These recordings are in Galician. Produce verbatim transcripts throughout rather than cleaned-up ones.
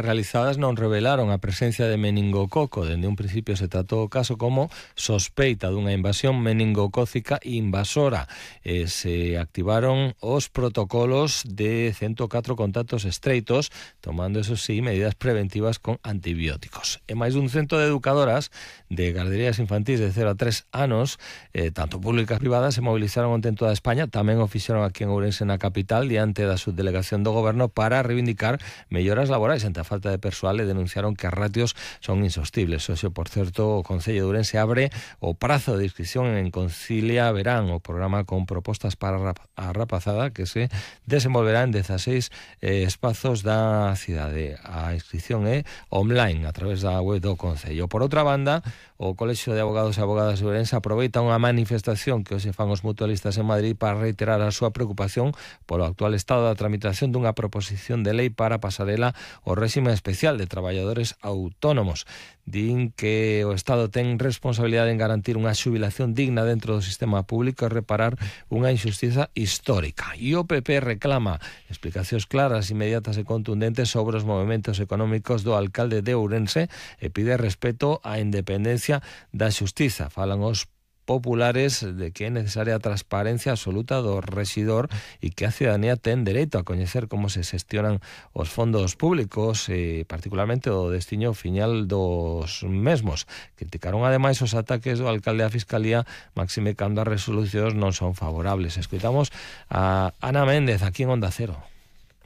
realizadas non revelaron a presencia de meningococo. Dende un principio se tratou o caso como sospeita dunha invasión meningocócica invasora. E se activaron os protocolos de ciento catro contactos estreitos, tomando, eso sí, medidas preventivas con antibióticos. E máis dun cento de educadoras de garderías infantís de cero a tres anos, eh, tanto públicas e privadas, se movilizaron onte en toda España. Tamén o fixeron aquí en Ourense, na capital, diante da subdelegación do Goberno, para reivindicar melloras laborais ante a falta de persoal, e denunciaron que as ratios son insostibles. Hoxe, por certo, o Concello de Ourense abre o prazo de inscripción en Concilia Verán, o programa con propostas para a rapazada que se desenvolverá en dezaseis eh, espazos da cidade. A inscripción é online a través da web do Concello. Por outra banda, o Colexio de Abogados e Abogadas de Ourense aproveita unha manifestación que hoxe fan os mutualistas en Madrid para reiterar a súa preocupación polo actual estado da tramitación dunha proposición de lei para pasarela o réxime especial de traballadores autónomos. Din que o Estado ten responsabilidade en garantir unha xubilación digna dentro do sistema público e reparar unha injustiza histórica. E o P P reclama explicacións claras, inmediatas e contundentes sobre os movimentos económicos do alcalde de Ourense e pide respeto á independencia da xustiza. Falan os populares de que é necesaria a transparencia absoluta do rexidor e que a ciudadanía ten dereito a coñecer como se xestionan os fondos públicos e particularmente o destiño final dos mesmos. Criticaron ademais os ataques do alcalde á Fiscalía, máxime cando as resolucións non son favorables. Escoitamos a Ana Méndez aquí en Onda Cero.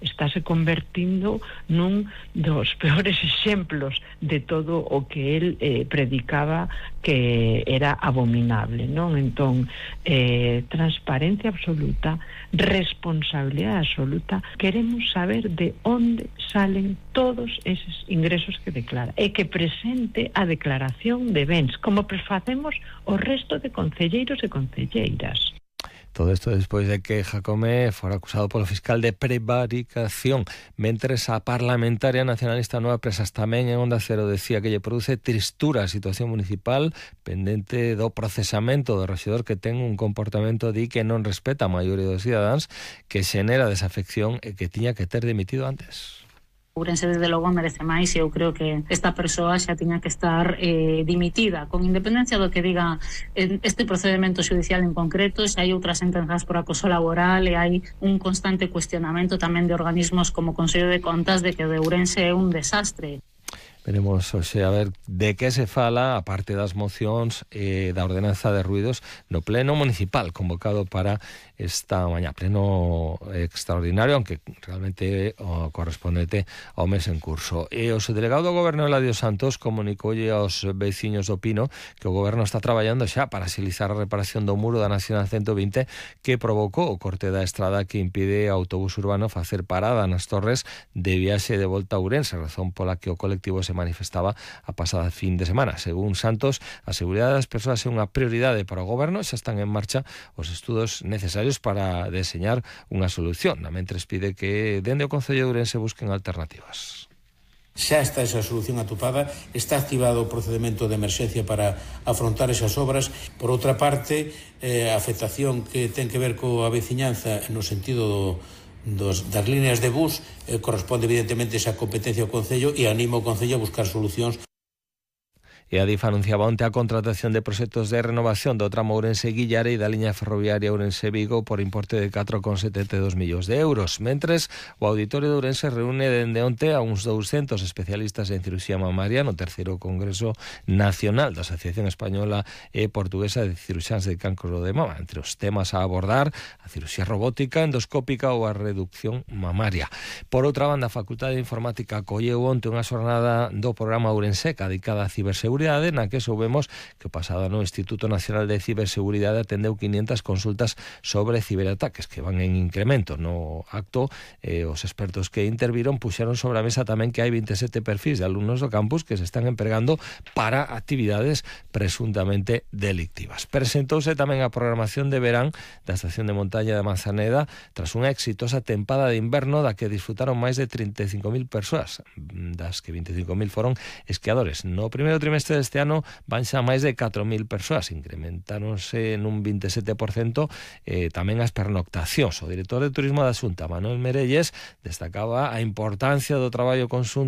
Estáse convertindo nun dos peores exemplos de todo o que el eh, predicaba que era abominable, non? Entón, eh, transparencia absoluta, responsabilidade absoluta. Queremos saber de onde salen todos eses ingresos que declara e que presente a declaración de bens, como facemos o resto de concelleiros e concelleiras. Todo isto despois de que Jacome fora acusado polo fiscal de prevaricación. Mentres a parlamentaria nacionalista Nueva Presas tamén en Onda Cero decía que lle produce tristura a situación municipal pendente do procesamento do rexedor que ten un comportamento di que non respeta a maioría dos cidadáns, que xenera desafección e que tiña que ter dimitido antes. Ourense desde logo merece máis e eu creo que esta persoa xa tiña que estar eh, dimitida, con independencia do que diga este procedimento judicial en concreto. Se hai outras sentenzas por acoso laboral e hai un constante cuestionamento tamén de organismos como o Consello de Contas de que o de Ourense é un desastre. Veremos hoxe a ver de que se fala, a parte das mocións e da ordenanza de ruidos no pleno municipal convocado para esta mañá, pleno extraordinario, aunque realmente o correspondente ao mes en curso. E o subdelegado do Goberno, Eladio Santos, comunicoulle aos veciños do Pino que o Goberno está traballando xa para axilizar a reparación do muro da Nacional ciento vinte que provocou o corte da estrada que impide ao autobús urbano facer parada nas torres de viaxe de volta a Ourense, razón pola que o colectivo se manifestaba a pasada fin de semana. Según Santos, a seguridade das persoas é unha prioridade para o Goberno e xa están en marcha os estudos necesarios para deseñar unha solución. Mentres pide que dende o Concello de Ourense busquen alternativas. Xa está esa solución atopada, está activado o procedimento de emerxencia para afrontar esas obras. Por outra parte, eh, a afectación que ten que ver coa veciñanza no sentido do Dos, das líneas de bus eh, corresponde evidentemente esa competencia ao Concello e anima o Concello a buscar solucións. E a DIF anunciaba onte a contratación de proxectos de renovación do tramo Ourense-Guillare e da liña ferroviaria Ourense-Vigo por importe de catro coma setenta e dous millóns de euros. Mentres, o Auditorio de Ourense reúne dende onte a uns douscentos especialistas en cirurxía mamaria no terceiro Congreso Nacional da Asociación Española e Portuguesa de Cirurxáns de Cancro de Mama. Entre os temas a abordar, a cirurxía robótica, endoscópica ou a reducción mamaria. Por outra banda, a Facultade de Informática acolleu onte unha xornada do programa Ourenseca dedicada a ciberseguridade, na que soubemos que o pasado ano o Instituto Nacional de Ciberseguridade atendeu quinientas consultas sobre ciberataques que van en incremento. No acto, eh, os expertos que interviron puxeron sobre a mesa tamén que hai veintisiete perfis de alumnos do campus que se están empregando para actividades presuntamente delictivas. Presentouse tamén a programación de verán da estación de montaña de Manzaneda tras unha exitosa tempada de inverno da que disfrutaron máis de trinta e cinco mil persoas, das que veinticinco mil foron esquiadores. No primeiro trimestre deste ano van xa máis de catro mil persoas, incrementáronse nun vinte e sete por cento eh, tamén as pernoctacións. O director de Turismo da Xunta, Manuel Merelles, destacaba a importancia do traballo conxunto